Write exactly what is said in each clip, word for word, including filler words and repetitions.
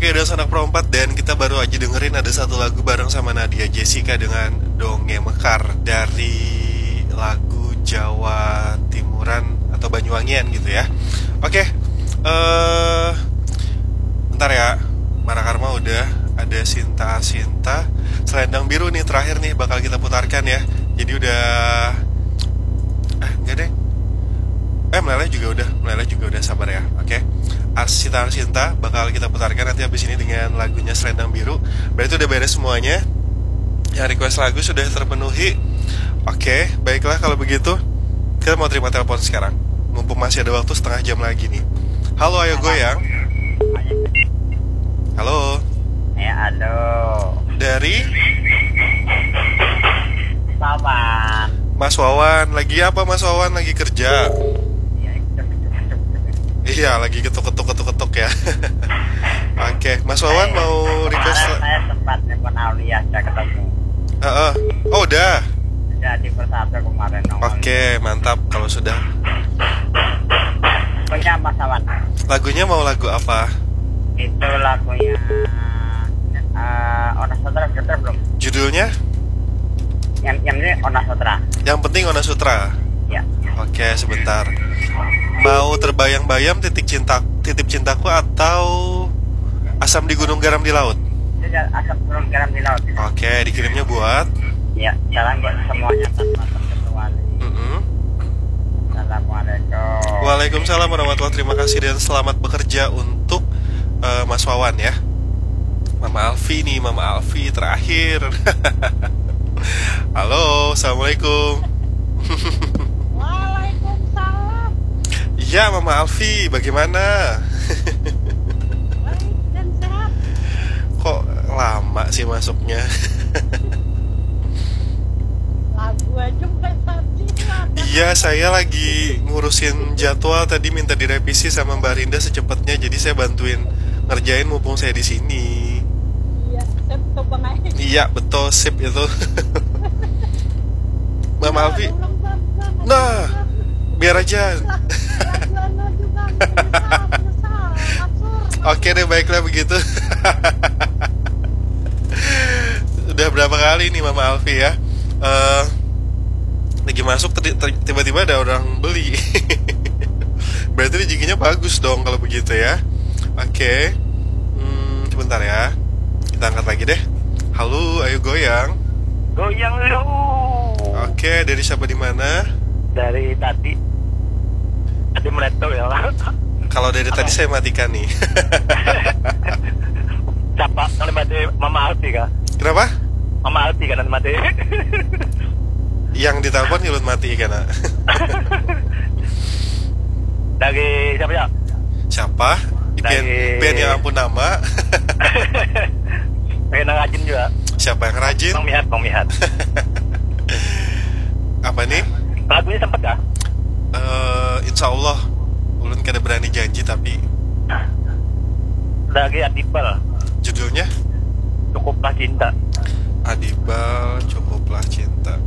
Oke, udah sanak perompat dan kita baru aja dengerin ada satu lagu bareng sama Nadia Jessica dengan Donge Mekar dari lagu Jawa Timuran atau Banyuwangian gitu ya. Oke, eh bentar ya. Mara Karma udah, ada Sinta Sinta, Selendang Biru nih terakhir nih bakal kita putarkan ya. Jadi udah, ah enggak deh, eh Meleleh juga udah, Meleleh juga udah, sabar ya. Oke, Arsita Arsinta bakal kita putarkan nanti habis ini dengan lagunya Selendang Biru. Berarti udah beres semuanya. Yang request lagu sudah terpenuhi. Oke, baiklah kalau begitu. Kita mau terima telepon sekarang. Mumpung masih ada waktu setengah jam lagi nih. Halo, ayo goyang. Halo. Ya, halo. Dari Paman. Mas Wawan. Lagi apa Mas Wawan? Lagi kerja? Ya, cuk, cuk, cuk, cuk. Iya, lagi ketuk-ketuk ketuk-ketuk ya. Oke, Mas Wawan mau request Kemarin la- saya sempat nelpon Aulia, saya ketemu. Heeh. Oh, udah. Jadi persatu kemarin nongol. Oke, mantap kalau sudah. Punya Mas Awan. Lagunya mau lagu apa? Itu lagunya eh Ona Sutra, sudah belum? Judulnya? Yang yang ini Ona Sutra. Yang penting Ona Sutra. Ya. Oke, sebentar. Mau terbayang-bayang titik cinta, titip cintaku atau asam di gunung garam di laut? Sudah, asam turun garam di laut. Oke, dikirimnya buat. Ya, salam buat semuanya tanpa terkecuali. Mm-mm. Assalamualaikum. Waalaikumsalam warahmatullahi, terima kasih dan selamat bekerja untuk eh, Mas Wawan ya. Mama Alfi nih, Mama Alfi terakhir. Halo, assalamualaikum. Waalaikumsalam. Ya, Mama Alfi, bagaimana? Baik dan sehat. Kok lama sih masuknya? Lagu aja bukan tadi. Iya, saya lagi ngurusin jadwal tadi, minta direvisi sama Mbak Rinda secepatnya, jadi saya bantuin ngerjain mumpung saya di sini. Iya, saya betul banget. Iya, betul, sip itu. Mama Alfi, Ulang, ulang, ulang. Nah, biar aja. Lagu anu juga, menyesal, menyesal, absurd. Oke deh, baiklah begitu. Udah berapa kali nih Mama Alfi ya? Eh, lagi masuk tadi, ter- tiba-tiba ada orang beli. Berarti rezekinya bagus dong kalau begitu ya. Oke. Hmm, sebentar ya. Kita angkat lagi deh. Halo, ayo goyang. Goyang lu. Oke, dari siapa di mana? Dari tadi. Tadi meleto ya. Kalau dari tadi saya matikan nih. Siapa yang mati? Mama Alfi kah? Kenapa? Mama Alfi kan yang mati. Yang ditelepon nyulut mati kan? Dari siapa ya? Siapa? Pian, Dari- pian yang ampun nama. Pengen rajin juga. Siapa yang rajin? Bang Mihat, Bang Mihat. Apa nih? Lagunya sempet kah? Eh, insya Allah. Ulun kada berani janji tapi Dari Adibal. Judulnya Cukuplah cinta. Adibal, Cukuplah Cinta.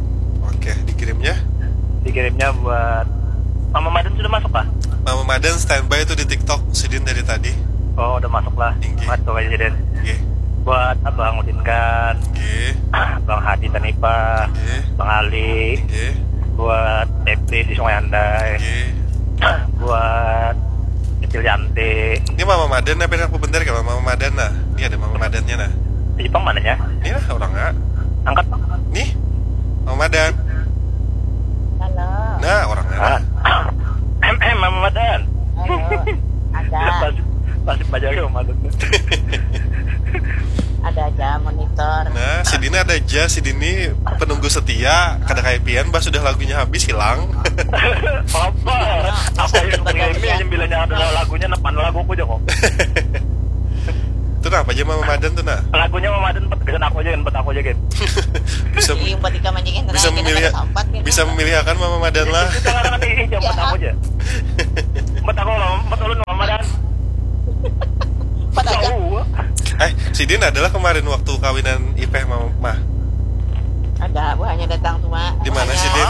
Oke, dikirimnya. Dikirimnya buat Mama Madan sudah masuk kah? Mama Madan standby tuh di TikTok, sidin dari tadi. Oh, udah masuk lah. Tinggi. Masuk aja deh. Oke. Buat Abang Udin kan, Oke. Bang Hadi Tanipa, Oke. Bang Ali, Oke. Buat Febri di Sungai Andai, Oke. Buat Kecil Yanti. Ini Mama Madan apa yang aku bentar kalau Mama Madan nah. Ini ada Mama Madannya nah. Di Jepang mananya? Ini lah orangnya. Angkat, Bang. Nih. Mama Madan. Halo. Nah, orangnya. Ah. M M Mama Madan. Halo. Ada, Pasti pasti belajar ya Mama Madan. Ada aja monitor. Nah, sidin ada aja, sidin ini penunggu setia, kada kayak pian, bah sudah lagunya habis hilang. Apa? Apa yang ini yang bilanya ada lagunya, nah, mana lagu aku aja kok. Itu nah, apa aja Mama Madan tuh nah. Lagunya Mama Madan empat, aku aja, empat aku aja gitu. Bisa Iya, empat tiga mancingin bisa memilih, bisa memilih akan Mama Madan lah. Itu kan ini aja empat aku aja. Empat aku, empat ulun Mama Madan. Empat aja. Jauh. Eh, sidin adalah kemarin waktu kawinan Ipeh Mama mah. Ada buahnya datang tuh, Mak. Di mana Buahnya sidin?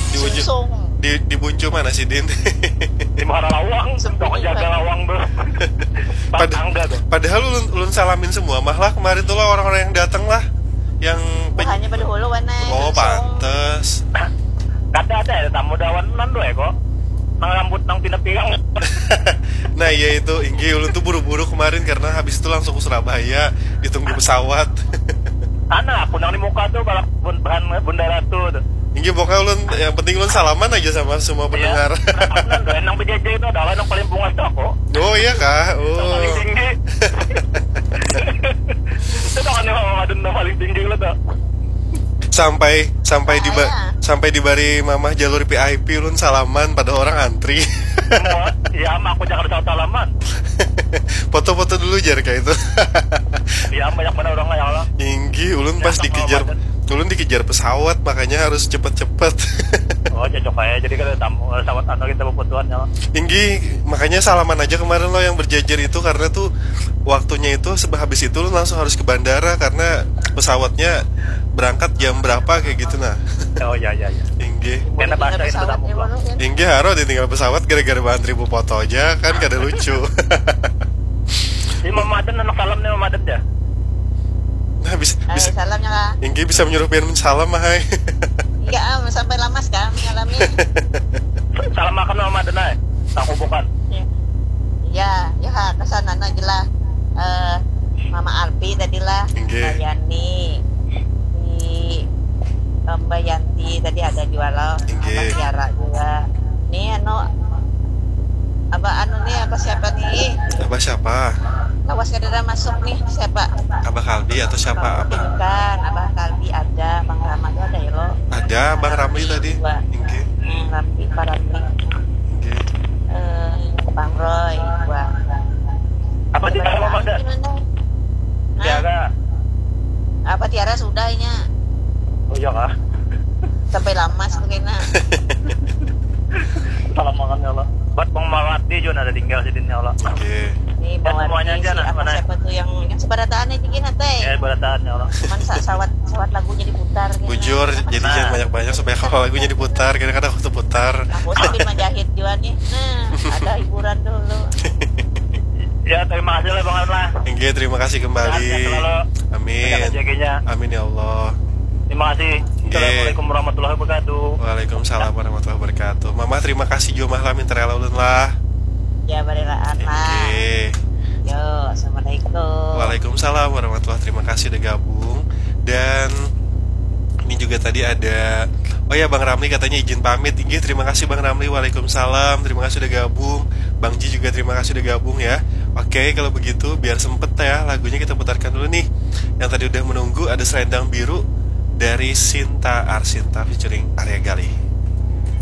Di ujung. Sungsung. Di di Buncu mana sidin? Di Muara Lawang, Sepi, toko jaga Bang. Lawang tuh. Pad- angga tuh. Padahal ulun, ulun salamin semua mah lah kemarin tuh lah orang-orang yang datang lah, yang buhannya pada hulu wana. Oh, pantes. Kada ada ya tamu dawan nan doa kok. Nang rambut nang pina pirang. Nah, iya itu, inggih ulun tuh buru-buru kemarin karena habis itu langsung ke Surabaya, ditunggu pesawat. Sana aku nang di muka tuh balak bun- bahan bundara tuh tuh. Inggih pokoknya ulun, yang penting ulun salaman aja sama semua pendengar. Iya. Salaman tuh, nang berjajar itu adalah nang paling bungas tuh aku. Oh iya kah? Oh. Nang paling tinggi. Itu tuh kan yang Ramadan nang paling tinggi lo tuh. Sampai sampai di ba- sampai dibari mamah jalur V I P ulun salaman pada orang antri. Iya, ama aku jangan salah salaman. Foto-foto dulu jar kayak itu. Iya, banyak banget orang ya Allah. Inggih, ulun pas dikejar, ulun dikejar pesawat makanya harus cepet-cepet. Oh, cocok aja. Jadi kalau tamu pesawat anu kita berfotoan ya. Inggih, makanya salaman aja kemarin lo yang berjajar itu karena tuh waktunya itu sebab habis itu ulun langsung harus ke bandara karena pesawatnya berangkat jam berapa kayak gitu nah. Oh iya iya iya. Inggih. Kena bahasa itu tamu. Inggih haro ditinggal pesawat gara-gara bahan ribu foto aja kan kada lucu. Ini mamadan anak salam nih mamadan ya. Nah, bisa, bisa. Salamnya lah. Inggih bisa menyuruh pian salam mah hai. Iya, ah, sampai lamas kan mengalami. Salam makan mamadan ai. Aku bukan. Iya, ya kesana aja lah. Eh, Mama Alpi tadi lah, Mbak Yani, di Mbak Yanti tadi ada juga loh, Mbak Tiara juga. Nih anu, Abah anu nih, Abah siapa nih? Abah siapa? Lawas kada ada masuk nih, siapa? Abah Kalbi atau siapa Abah? Bukan, Abah Kalbi ada, Bang Rama tuh ada ya lo. Ada, Bang Ramli tadi. Inggih. Hmm, Ramli, Pak Ramli. Inggih. Eh, Bang Roy, dua. Apa Tiara ada? Tiara. Apa Tiara sudahnya? Oh iya kah? Sampai lamas tuh kena. Salam makan ya Allah. Buat Bang Mawati juga ada tinggal sini ya Allah. Oke. Ini ya, semuanya aja si nah, apa mana? Siapa tuh yang yang sebarataan aja gini teh? Ya sebarataan ya Allah. Cuman sa sawat sawat lagunya diputar. Bujur, gitu. Jadi nah. Jangan banyak-banyak supaya kalau lagunya diputar, kadang-kadang waktu putar. Aku sambil menjahit juga nih. Nah, ada hiburan dulu. Ya, terima kasih lah Bang Arla. Oke, terima kasih kembali. Amin. Amin ya Allah. Terima kasih. Assalamualaikum warahmatullahi wabarakatuh. Waalaikumsalam warahmatullahi wabarakatuh. Mama terima kasih juga mah lah minta rela ulun lah. Ya, barelaan lah. Oke. Yo, assalamualaikum. Waalaikumsalam warahmatullahi wabarakatuh. Terima kasih udah gabung. Dan ini juga tadi ada, oh ya, Bang Ramli katanya izin pamit. Inggih, terima kasih Bang Ramli. Waalaikumsalam. Terima kasih udah gabung. Bang Ji juga terima kasih udah gabung ya. Oke, kalau begitu biar sempet ya lagunya kita putarkan dulu nih. Yang tadi udah menunggu ada Selendang Biru dari Sinta Arsinta featuring Arya Galih.